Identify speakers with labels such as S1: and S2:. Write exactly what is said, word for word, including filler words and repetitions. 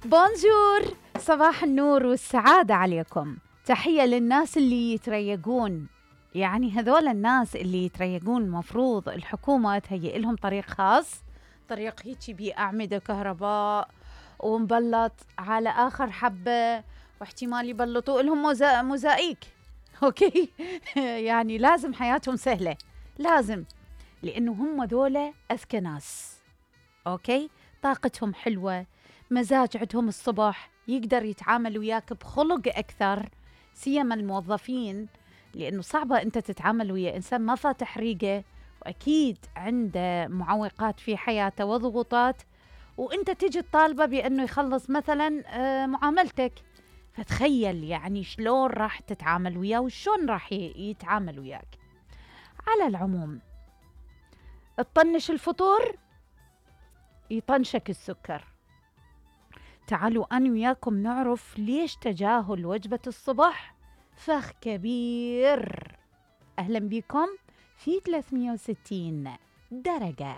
S1: بونجور، صباح النور والسعادة عليكم. تحية للناس اللي يتريقون، يعني هذول الناس اللي يتريقون مفروض الحكومة تهيئ لهم طريق خاص، طريق هيجي بيه أعمدة كهرباء ومبلط على آخر حبة، واحتمال يبلطوا لهم موزا... موزايك أوكي يعني لازم حياتهم سهلة، لازم، لأنه هم دولة أذكى ناس. أوكي، طاقتهم حلوة، مزاج عندهم الصبح، يقدر يتعامل وياك بخلق أكثر، سيما الموظفين، لأنه صعبة أنت تتعامل ويا إنسان ما فاتح ريقه وأكيد عنده معوقات في حياته وضغوطات، وأنت تجي الطالبة بأنه يخلص مثلا معاملتك، فتخيل يعني شلون راح تتعامل وياه وشون راح يتعامل وياك. على العموم، تطنش الفطور يطنشك السكر. تعالوا أنا وياكم نعرف ليش تجاهل وجبة الصبح فخ كبير. أهلا بكم في ثلاثمئة وستين درجة.